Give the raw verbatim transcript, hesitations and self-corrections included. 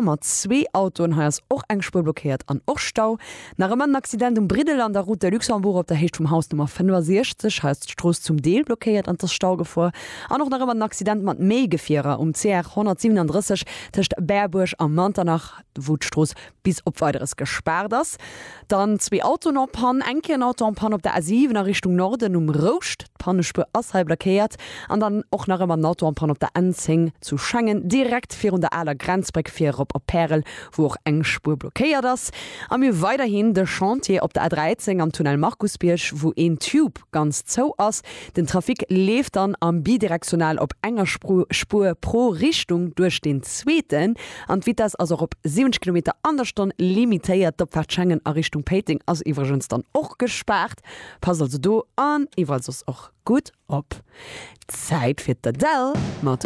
Mat zwee Autoen hei ass och eng Spuer blockéiert an och Stau. Nach ëmmer en Accident um Briddel an der Route de Luxembourg op der Héicht vum Haus Nummer fënnefasechzeg. Hei ass d'Strooss zum Deel blockéiert an et ass Staugefor. An och nach ëmmer en Accident mat méi Gefierer um C R honnertsiwwenandrësseg tëscht Berbuerg a Manternach, wou d'Strooss bis op Weideres gespaart ass. Dann zwee Autoen en panne, eng Kéier en Auto en panne op der A siwen a Richtung Norden um Rouscht, d'Pannespuer ass hei blockéiert. An dann och nach ëmmer en Auto en panne op der N zéng zu Schengen, direkt virun der aler Grenzbréck fir erop op Pärel, wou och eng Spuer blockéiert ass. A mir hu weiderhin de Chantier op der A dräizéng am Tunnel Markusbierg, wou een Tube ganz zou ass. Den Trafic leeft dann am bidirektional op enger Spuer pro Richtung duerch deen zweeten an d'Vitess ass och op siwwenzeg Kilometer an der Stonn limitéiert. D'Opfaart Schengen a Richtung Péiteng ass iwwregens dann och gespaart. Passt also do an iwwerall soss och gutt op. Zäit fir d'Adele mat